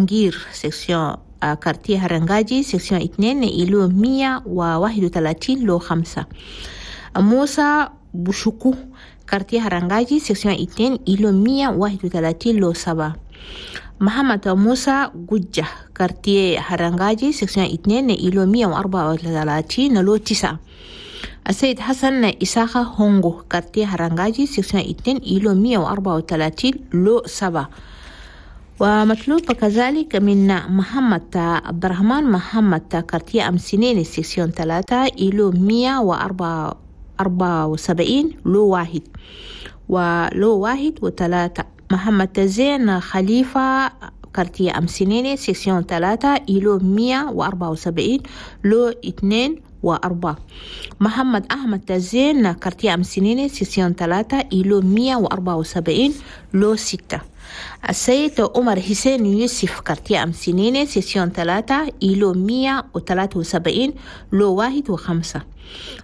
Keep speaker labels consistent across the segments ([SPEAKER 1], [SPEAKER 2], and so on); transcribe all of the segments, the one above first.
[SPEAKER 1] أنجير section quartier هرنجاجي section 2 إلو 131 لو 5. موسى بوشوكو quartier هرنجاجي section 2 إلو 131 لو 7. محمد موسى جوجة quartier هرنجاجي section 2 إلو 134 لو 9. السيد حسن إساخة هونغو quartier هرنجاجي section 2 إلو 134 لو 7. ومطلوب كذلك من محمد عبد الرحمن محمد quartier أمسنين section 3 إلو 174 لو 1 ولو 1 و3. محمد زين خليفة quartier أمسنين section 3 إلو 174 لو 2 و4. محمد أحمد زين quartier أمسنين section 3 إلو 174 لو 6. السيد عمر حسين يوسف quartier أمسنين section 3 إلو 173 لو 1 و5.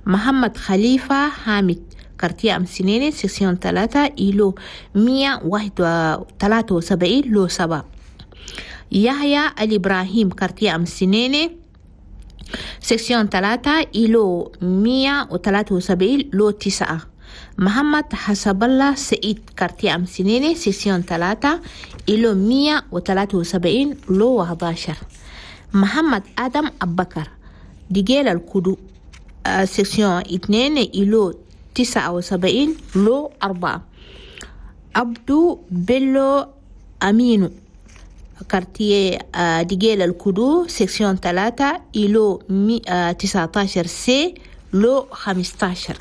[SPEAKER 1] محمد خليفة حامد quartier أمسنين section 3 إلو 173 لو 7. يحيى الإبراهيم quartier أمسنين section 3 إلو 173 لو 9. محمد حسب الله سعيد quartier أمسنين section 3 إلو 173 لو 11. محمد آدم أبكر ديجيل الكدو section 2 إلو 79 لو 4. عبدو بيلو أمينو quartier ديجيل الكدو section 3 إلو 19 C لو 15.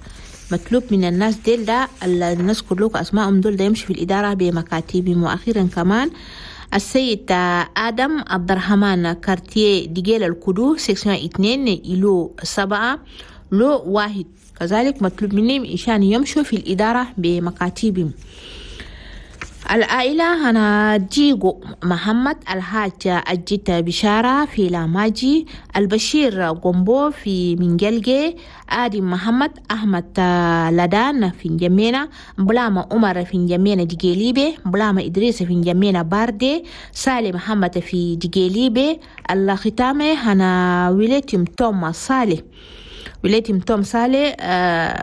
[SPEAKER 1] مطلوب من الناس ديل ده الناس كلكم أسمائهم دول ده يمشي في الإدارة بمكاتبهم. وأخيرا كمان السيد آدم عبد الرحمن quartier ديجيل الكدو section 2 إلو 7 لو 1. كذلك مطلوب منهم إشان يمشوا في الإدارة بمكاتبهم. العائلة هنا ديغو محمد الحاج أجيت بشارة في لاماجي، البشير غومبو في منجلجي، آدم محمد أحمد لدان في نجمينا، بلاما عمر في نجمينا ديجيليبي، بلاما إدريس في نجمينا باردي، سالي محمد في ديجيليبي. الختامة هنا وليتم توما صالح، وليتم توم صالح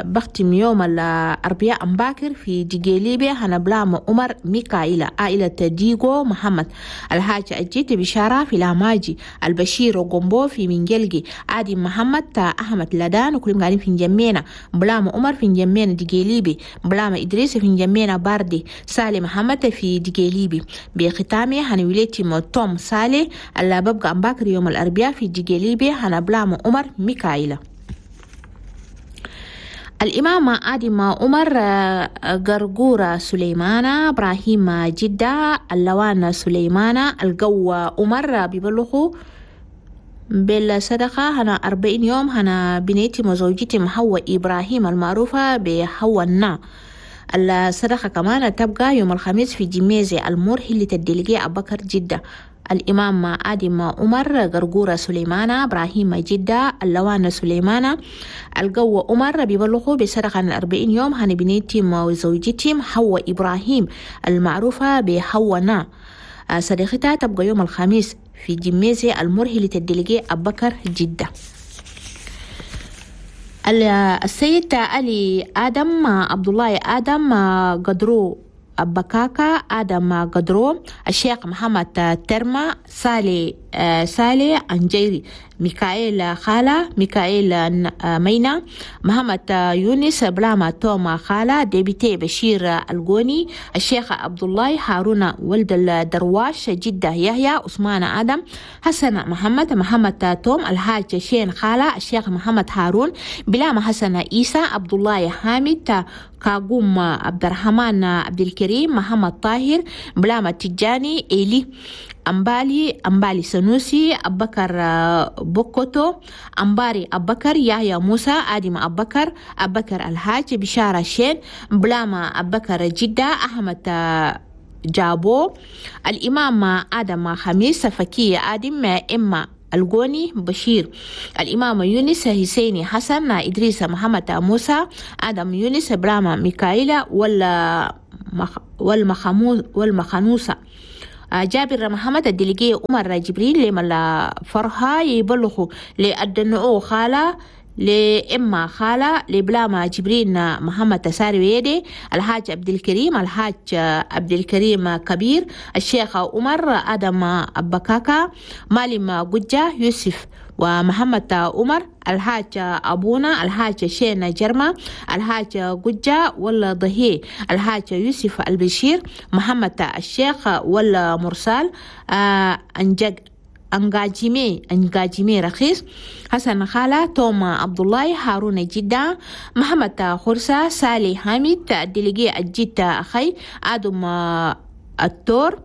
[SPEAKER 1] بختم يوم الأربعاء أمباكر في ديجيليبي هنا بلام عمر ميكائيل. عائلة ديغو محمد الحاج أجيت بشارة في لاماجي، البشير غومبو في منجلجي، عادي محمد أحمد لدان وكلهم قاعدين في نجمينا، بلام عمر في نجمينا ديجيليبي، بلام إدريس في نجمينا باردي، سالي محمد في ديجيليبي. بختامي هنا وليتم توم صالح اللي ببقى أمباكر يوم الأربعاء في ديجيليبي هنا بلام عمر ميكائيل. الإمام آدم عمر غرغورة سليمانة إبراهيم جدة اللوان سليمانة القو عمر بيبلغوا بالصدقة هنا 40 يوم هنا بنيتي وزوجتي حواء إبراهيم المعروفة بحواء النا. الصدقة كمان تبقى يوم الخميس في جميزة المرحلة الدلقية أبكر جدة. الإمام آدم عمر غرغورة سليمانة إبراهيم جدة اللوان سليمانة القو عمر بيبلغوا بصدقة 40 يوم هن بنيتي وزوجتي حواء إبراهيم المعروفة بحواء نا. صديقتها تبقى يوم الخميس في جميزة المرحلة الدلقية أبكر جدة. السيد علي آدم عبد الله آدم قدرو بكاكا آدم قدرو الشيخ محمد ترمى سالي سالي أنجيري ميكائيل خالة ميكائيل مينا محمد يونس بلاما توما خالة député بشير القوني الشيخ عبد الله هارون ولد الدرواش جدة يحيى عثمان آدم حسن محمد محمد توم الحاج شين خالة الشيخ محمد هارون بلاما حسن عيسى عبد الله حامد كاقوم عبد الرحمن عبد الكريم محمد طاهر بلاما تجاني إيلي أمبالي سنوسي أبكر بوكوتو أمباري أبكر يحيى موسى آدم أبكر أبكر الحاج بشارة شين بلاما أبكر جدة أحمد جابو الإمام آدم خميس فكي آدم إما الغوني بشير الإمام يونس حسيني حسن إدريس محمد موسى آدم يونس براما ميكائيل والمخنوسة جابر محمد الدليجي عمر جبريل لملا فرحة يبلغوا لأدنعو خالة لإما خالة لبلاما جبرين محمد تساري ويدي الحاج عبد الكريم الحاج عبد الكريم كبير الشيخ عمر آدم أبكاكا مالم قجة يوسف ومحمد عمر الحاج أبونا الحاج شين جرما الحاج قجة ولا ضهي الحاج يوسف البشير محمد الشيخ ولا مرسال أنجق أنجاجيمي رخيص حسن خالة توما عبد الله هارون جدة محمد خرسة سالي حامد الدليجي الجدة أخي آدم التور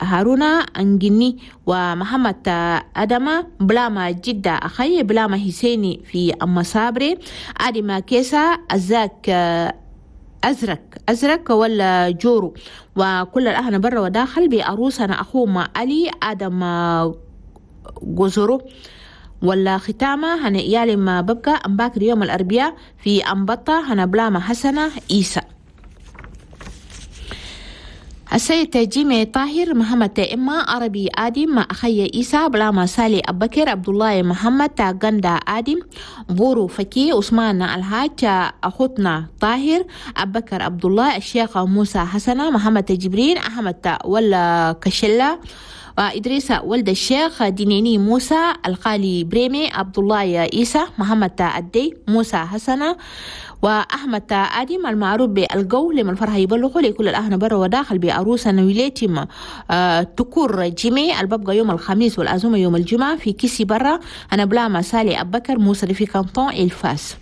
[SPEAKER 1] هارونا أنجني ومحمد أدمة بلاما جدة أخي بلاما حسيني في أم صابري آدم كيسا أزاك أزرق ولا جورو. وكل الأهل برا وداخل بأروسنا أخوما علي آدم جزرو. ولا ختامة هنا إيالي ما ببقى أمباكر يوم الأربعاء في أمبطة هنا بلاما حسنة إيسا. السيد جيمي طاهر محمد إما عربي آدم مع أخي إيسا بلاما سالي أبكر عبد الله محمد غندا آدم بورو فكي عثمان الحاج أخوتنا طاهر أبكر عبد الله الشيخ موسى حسنة محمد جبرين أحمد ولا كشلة وإدريس ولد الشيخ دينيني موسى القالي بريمي عبد الله إيسى محمد الدي موسى حسنة وأحمد آدم المعروف بالجو لمن الفرح يبلغوا لكل الأهل برا وداخل بأروسة نويلاتهم تكور جيمي الببقى يوم الخميس والأزومة يوم الجمعة في كيسي برا أنا بلا سالي أبكر موسى في كانتون الفاس.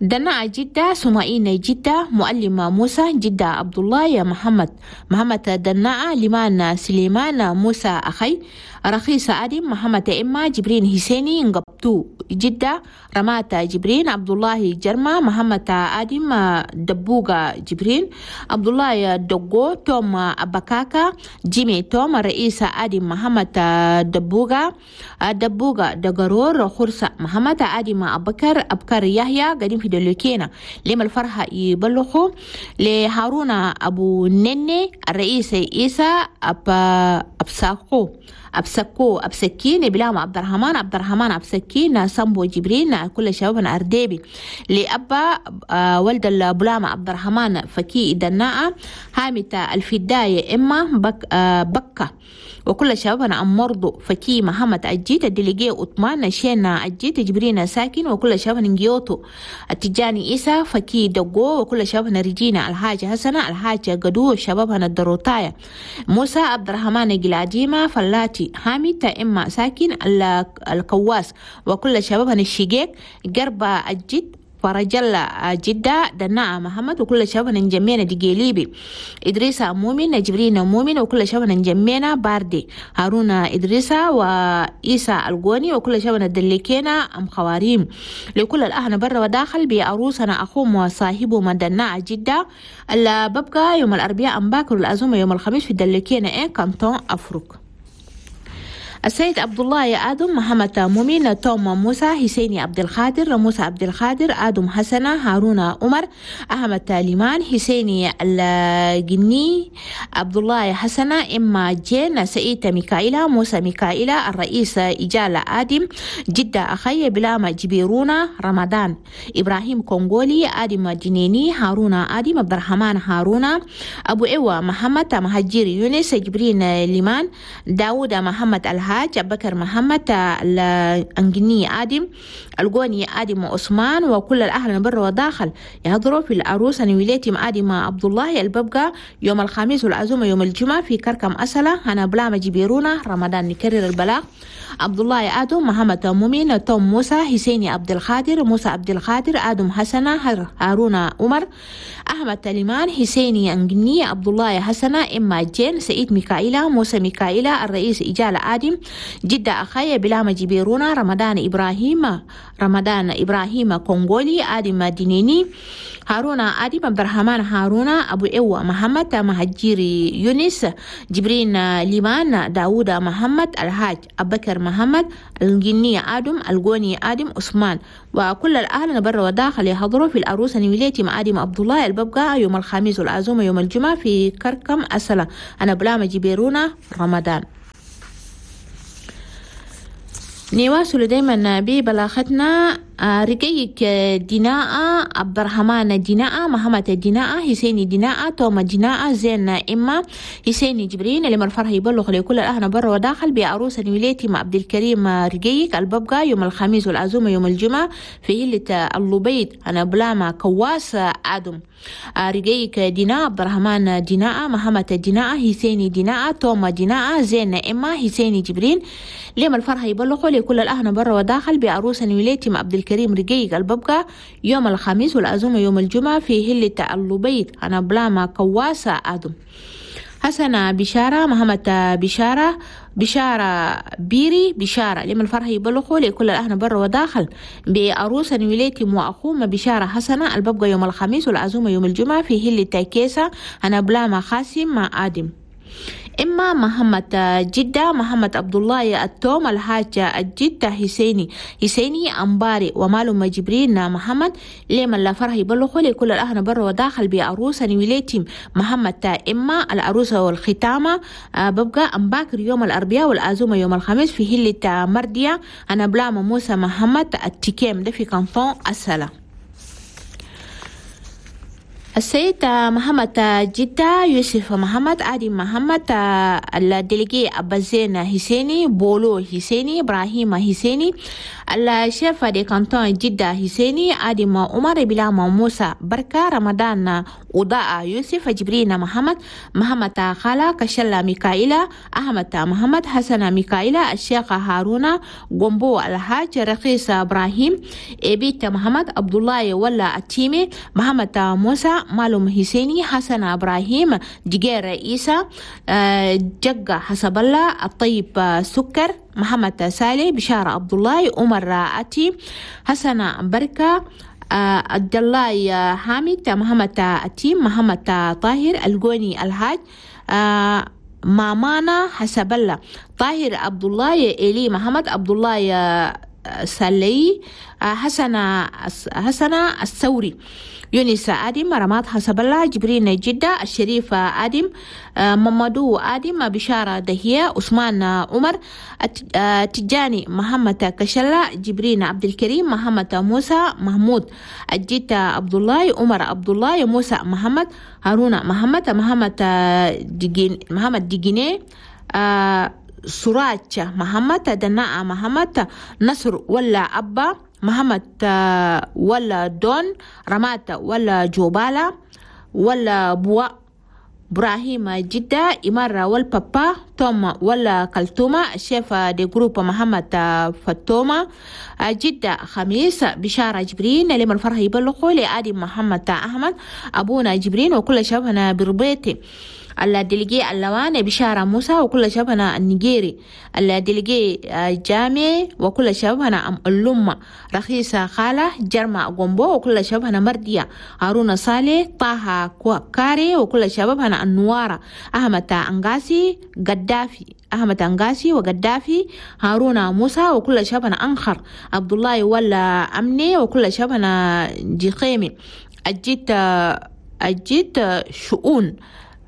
[SPEAKER 1] دنا جدة سمائين جدة معلم موسى جدة عبد الله يا محمد محمد دناء لمان سليمان موسى أخي رخيص آدم محمد إما جبرين حسيني نقبتو جدة رمات جبرين عبد الله جرما محمد آدم دبوغا جبرين عبد الله دقو توم أبكاكا جيمي توم رئيس آدم محمد دبوغا دبوغا دقرور خرسة محمد آدم أبكر أبكر يحيى قديم في دلوكينا لما الفرحة يبلغوا لهارون أبو نني الرئيس إيسى أبساقو أبسكو أبسكين بلام عبد الرحمن عبد الرحمن أبسكين سامبو جبرين كل شبابنا أرديبي لأبا ولد البلام عبد الرحمن فكي دناء هامت الفداية إما بكة وكل شبابنا أم مرضو فكي محمد أجيت الدليجي عثمان شينا أجيت جبرين ساكن وكل شبابنا نجيوتو التجاني إيسا فكي دقو وكل شبابنا رجينا الحاج حسنة الحاج قدو شبابنا الدروتايا موسى عبد الرحمن جلاديما فلاتي حامد إما ساكن الكواس وكل شبابنا الشقيق قربة الجد فرجل جدة دناء محمد وكل شبابنا نجمينا دقيليبي إدريس مؤمن جبرين مؤمن وكل شبابنا نجمينا باردي هارون إدريس وإيسى القوني وكل شبابنا دلكينا أم خواريم لكل الأهل برا وداخل بأروسنا أخوم وصاحبه من دناء جدة اللي ببقى يوم الأربعاء أم باكر الأزومة يوم الخميس في دلكينا إيه كانتون أفريق. السيد عبد الله آدم محمد مؤمن توم موسى حسيني عبد القادر موسى عبد القادر آدم حسنة هارون عمر أحمد ليمان حسيني الجني عبد الله حسنة إما جين سعيد ميكائيلا موسى ميكائيلا الرئيس إجالة آدم جدة أخي بلاما جبيرونا رمضان إبراهيم كونغولي آدم جنيني هارون آدم عبد الرحمن هارون أبو إيوة محمد مهجير يونس جبرين ليمان داود محمد الهاج بكر محمد الأنجني آدم القوني آدم عثمان وكل الأهل برا وداخل يحضروا في العروس نويلاتهم آدم عبد الله الببقى يوم الخميس والعزومة يوم الجمعة في كركم أسلة هنا بلاما جبيرونا رمضان. نكرر البلاغ عبد الله آدم محمد مؤمن توم موسى حسيني عبد القادر موسى عبد القادر آدم حسنة هارون عمر أحمد تليمان حسيني أنجني عبد الله حسنة إما جين سعيد ميكائيلا موسى ميكائيلا الرئيس إجالة آدم جدة أخايا بلاما جبيرونا رمضان إبراهيم، رمضان إبراهيم كونغولي، آدم دينيني، هارونا آدم، عبد الرحمن هارونا، أبو إيوة محمد، مهجيري يونس، جبرين ليمان، داوود محمد، الحاج أبكر محمد، الجنية آدم، الجوني آدم، عثمان، وكل الأهل برا وداخل يحضروا في الأروسة نيوليتي مع آدم عبد الله الببقى يوم الخميس والعزومة يوم الجمعة في كركم أسلة. أنا بلاما جبيرونا رمضان. نواصل دايما ببلاغتنا. رقيق ديناء، عبد الرحمن ديناء، محمد ديناء، حسيني ديناء، توما ديناء، زين إما، حسيني جبرين. لما الفرح يبلغ لكل الأهل برا وداخل بعروسة نيوليتي مع عبد الكريم رقيق الببقى يوم الخميس والعزومة يوم الجمعة في هلة اللبيد. أنا بلاما كواس آدم. رقيق ديناء، عبد الرحمن ديناء، محمد ديناء، حسيني ديناء، توما ديناء، زين إما، حسيني جبرين. لما الفرح يبلغ لكل الأهل برا وداخل بعروسة نيوليتي مع عبد الكريم رقيق الببقى يوم الخميس والعزومة يوم الجمعة في هلة اللبيد. أنا بلاما كواسة آدم. حسن بشارة، محمد بشارة، بشارة بيري بشارة. لما الفرح يبلغوا لكل الأهل برا وداخل بعروسة نيوليتي وأخوما بشارة حسنة الببقى يوم الخميس والعزومة يوم الجمعة في هلة كيسة. أنا بلاما خاسم مع آدم. إما محمد جدة، محمد عبد الله التوم، الحاج الجدة حسيني، حسيني أمباري، ومالو جبرين محمد. لما لا فرح يبلغوا لكل الأهل برا وداخل بعروسة نيوليتي محمد إما العروسة والختامة ببقى أمباكر يوم الأربعاء والعزومة يوم الخميس في هلة مردية. أنا بلاما موسى محمد التكيم ده في كانتون السلام. السيد محمد جدة، يوسف محمد، آدم محمد، ال délégué أبازين حسيني، بولو حسيني، إبراهيم حسيني، ال chef de canton جدة حسيني، آدم عمر، بلاما موسى بركة، رمضان وضاء يوسف، جبرين محمد، محمد خالة، كشلة ميكائيلا، أحمد محمد، حسن ميكائيلا، الشيخ هارون قنبو، الحاج رخيص إبراهيم، إبيت محمد، عبد الله ولا التيمي، محمد موسى، مالوم حسيني، حسن إبراهيم، جير عيسى، جقة حسب الله، الطيب سكر، محمد سالي، بشارة عبد الله، عمر أتي، حسن بركة، عبد الله حامد، محمد أتيم، محمد طاهر، الجوني الحاج، مامانا حسب الله، طاهر عبد الله، إلي محمد عبد الله سالي، حسن الثوري، يونس آدم، رماد حسب الله، جبرين جدة، الشريف آدم، ممدو آدم، بشارة دهية، عثمان عمر، تجاني محمد كشلة، جبرين عبد الكريم، محمد موسى، محمود الجيت عبد الله، عمر عبد الله، موسى محمد، هارون محمد، محمد ديجيني، سراج محمد، دناء محمد، نصر ولا أبا، محمد ولا دون، رمات ولا جوبالا ولا بوا، إبراهيم جدة، إمارة والبابا، توما ولا كلتوما، ال chef de groupe محمد فتوما، جدة خميس، بشارة جبرين. لما الفرح يبلغوا لآدم محمد أحمد، أبونا جبرين، وكل شبهنا بربيتي. ال délégué اللوان بشارة موسى، وكل شبهنا النيجيري. ال délégué جامع، وكل شبهنا أم اللمة، رخيصة خالة، جرمة قنبو، وكل شبهنا مردية، هارون صالح، طه كاري، وكل شبابنا النوارة، أحمد أنغاسي، قدافي، أحمد أنغاسي وقدافي، هارون موسى، وكل شبهنا أنخر، عبد الله ولا أمني، وكل شبهنا جخيمي، الجيت شؤون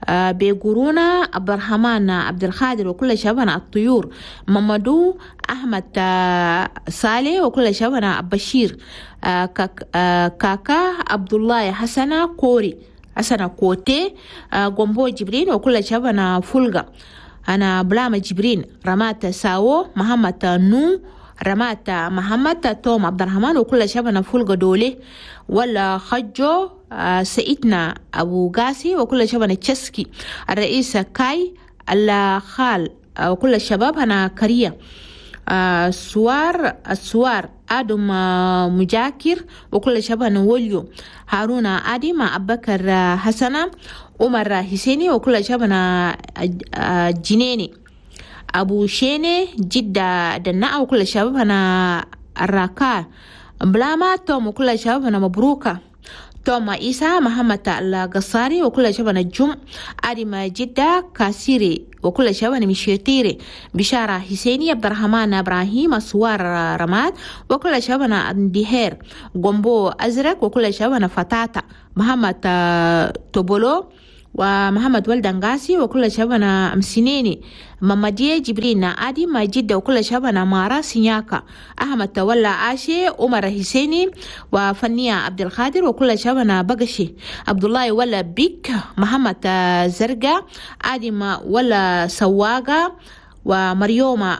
[SPEAKER 1] بيقرونا، عبد الرحمن عبد الخادر، وكل شبهنا الطيور، ممدو أحمد صالح، وكل شبهنا بشير، كاكا عبد الله، حسن كوري، حسن كوتي، قنبو جبرين، وكل شبهنا فولغا. أنا بلاما جبرين، رمات ساو، محمد نو، رمات محمد، توم عبد الرحمن، وكل شبهنا فولغا دولي ولا خجو، سيدنا أبو قاسي، وكل شبهنا تشسكي، الرئيس كاي الخال، وكل الشباب هنا كريا، سوار السوار، آدم مجاكر، وكل شبهنا وليو، هارون آدم، أبكر حسنة، عمر حسيني، وكل شبهنا جنيني. أبو شيني جدة دناء وكل الشباب هنا الراكا بلاما توم وكل الشباب هنا مبروكة توما إيسا محمد القصاري وكل شباب الجم أريم جدة كاسيري وكل شباب مشيتيري بشارة حسيني عبد الرحمن إبراهيم سوار رماد وكل شباب اندهير قنبو أزرق وكل شباب فتاتا محمد توبولو ومحمد ولدنغاسي وكل شبنا أمسنيني ممدية جبرين آدي ما جدة وكل شبنا مارا سينياكا أحمد تولى آشي عمر حسيني وفنية عبد القادر وكل شبنا بقشي عبد الله ولا بيك محمد زرقا آدي ما ولا سواقة ومريومة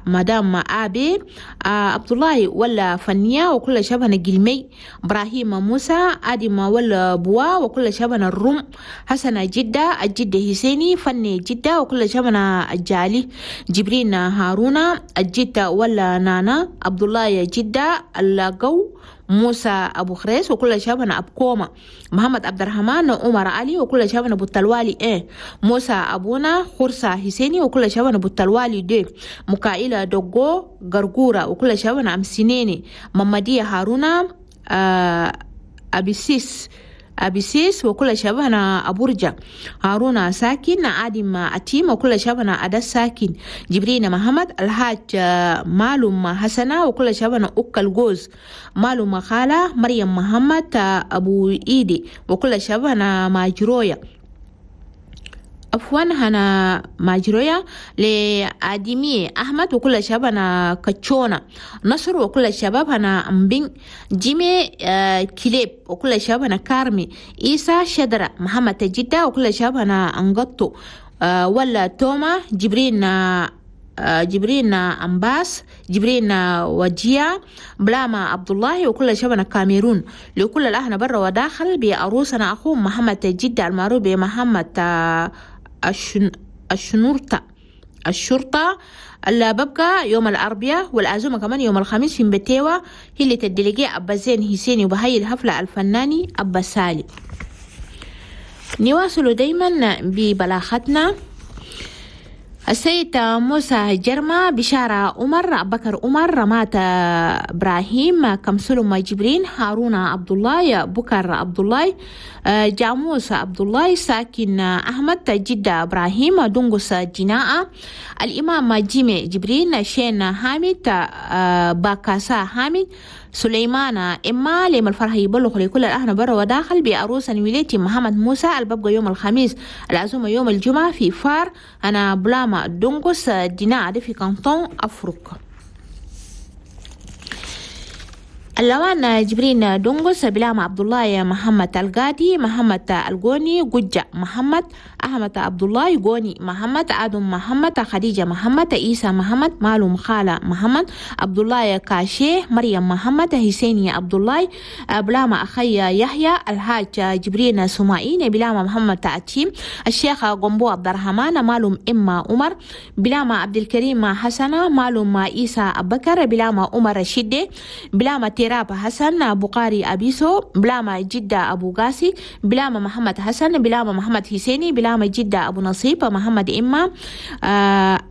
[SPEAKER 1] مدام آبي عبد الله ولا فنية وكل شبهنا جلمي إبراهيم موسى آدم ولا بوا وكل شبهنا الروم حسن جدة الجدة حسيني فني جدة وكل شبهنا الجالي جبرين هارون الجدة ولا نانا عبد الله جدة القو موسى أبو خريس وكل شبهنا أبكوما محمد عبد الرحمن عمر علي وكل شبهنا أبو التلوالي إيه موسى أبونا خرسة حسيني وكل شبهنا أبو التلوالي دي مكائلة دوغو غرغورة وكل شبهنا أمسينيني ممدية هارونا أبيسيس وكل شبهنا أبورجا هارونا ساكن عادم أتيم وكل شبهنا أدس ساكن جبرين محمد الحاج معلوم حسنة وكل شبهنا أكل جوز معلوم خالة مريم محمد أبو إيدي وكل شبهنا ماجرويا عفوا هنا ماجرويا لآدمي أحمد وكل شباب هنا كتشونا نصر وكل الشباب هنا أمبين جيمي كليب وكل الشباب هنا كارمي إيسا شدرة محمد جدة وكل الشباب هنا أنغطو ولا توما جبرين جبرين أمباس جبرين وجيا بلاما عبد الله وكل شبنا كاميرون لكل الأهل برا وداخل بأروسنا أخوه محمد جدة المعروف بمحمد الشرطة اللي ببقى يوم الأربعاء والعزومة كمان يوم الخميس في بتيوة هي اللي تدلقي أبا زين حسيني وبهي الحفلة الفناني أبا سالي. نواصل دايما ببلاغتنا. السيد موسى جرمة بشارة عمر بكر عمر رمات إبراهيم كمسلم جبرين هارون عبد الله بكر عبد الله جاموس عبد الله ساكن أحمد جدة إبراهيم دنقس جناء الإمام جيمي جبرين شين حامد باكاسا حامد سليمان إما لما الفرح يبلغ لكل الأهل برا وداخل بأروس ولايتي محمد موسى الببقى يوم الخميس العزومة يوم الجمعة في فار أنا بلاما دونغوس دينا في كانتون أفريقيا. اللوان جبرين دونغوس بلام عبد الله محمد القادي محمد القوني قجة محمد أحمد عبد الله قوني محمد آدم محمد خديجة محمد عيسى محمد معلوم خالة محمد عبد الله كاشي مريم محمد حسيني عبد الله بلام أخي يحيى الحاج جبرين سمائين بلام محمد تأتيم الشيخ قنبو عبد الرحمن معلوم إما عمر بلام عبد الكريم حسنة معلوم عيسى أبكر بلام عمر شدة بلام تيراب حسن بقاري أبيسو بلاما جدة أبو قاسي بلاما محمد حسن بلاما محمد حسيني بلاما جدة أبو نصيب محمد إما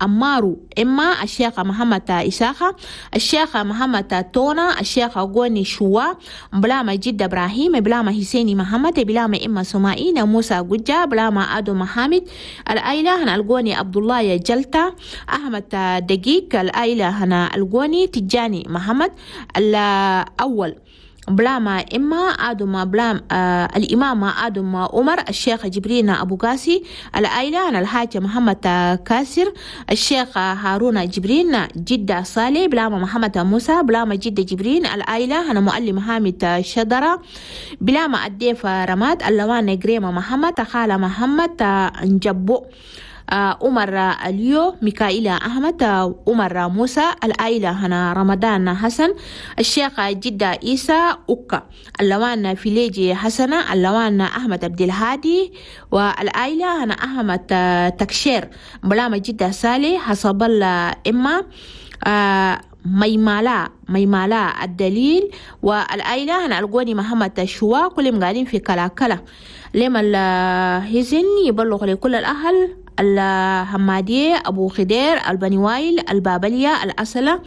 [SPEAKER 1] أمارو إما الشيخ محمد إساخة الشيخ محمد تونا الشيخ غوني شوا بلاما جدة إبراهيم بلاما حسيني محمد بلاما إما سمائين موسى قجة بلاما أدو محمد الأيلة هنا الغوني عبد الله جلتا أحمد دقيق الأيلة هنا الغوني تجاني محمد الأول بلاما إما آدم بلام الإمام آدم عمر الشيخ جبرين أبو قاسي العائلة أنا الحاج محمد كاسر الشيخ هارون جبرين جدة صالح بلاما محمد موسى بلاما جدة جبرين العائلة أنا معلم حامد شدرة بلاما الديف رماد اللوان جريمة محمد خالة محمد نجبو عمر اليو ميكائيل أحمد عمر موسى العائلة هنا رمضان حسن الشيخ جدة عيسى أوكا اللوان فيليجي حسنة اللوان أحمد عبد الهادي والعائلة هنا أحمد تكشير بلامة جدة سالي حسب الله إما ميمالا الدليل والعائلة هنا القوني محمد شوا كلهم قاعدين في كلاكلا لما الهزن يبلغ لكل الأهل الحمادية، أبو خدير، البني وايل، البابلية، الأسلة،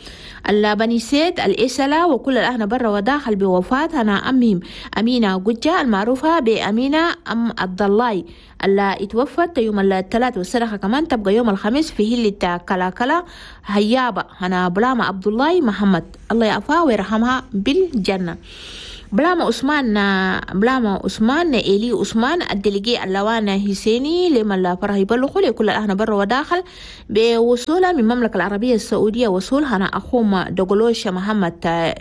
[SPEAKER 1] البني سيد، الإسلة، وكل الأهل برا وداخل بوفاة أنا أمهم أمينة قجة المعروفة بأمينة أم الضلاي اللي اتوفت يوم الثلاث، والصدقة كمان تبقى يوم الخميس في هلة كلاكلا هيابة أنا بلامة عبد الله محمد، الله يعفوها ويرحمها بالجنة. بلاما عثمان، بلاما عثمان إلي عثمان ال délégué اللوان حسيني لما الفرح يبلغوا لكل الأهل برا وداخل بوصولها من المملكة العربية السعودية، وصول هنا أخوهم دقلوش محمد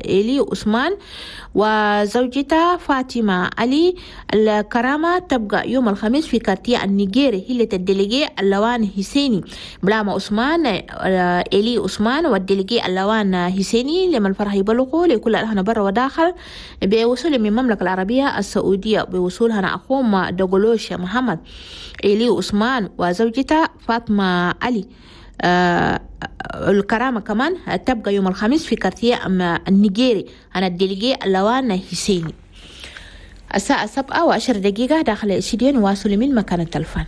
[SPEAKER 1] إلي عثمان وزوجته فاطمة علي. الكرامة تبقى يوم الخميس في quartier النيجيري هلة ال délégué اللوان حسيني. بلاما عثمان إلي عثمان وال délégué اللوان حسيني لما الفرح يبلغوا لكل الأهل برا وداخل بوصول من المملكة العربية السعودية، بوصول هنا أخوهم دقلوش محمد إلي عثمان وزوجته فاطمة علي. الكرامة كمان تبقى يوم الخميس في quartier النيجيري أنا ال délégué اللوان حسيني. الساعة 7:10 داخل الاستديو، نواصل من مكان التلفون.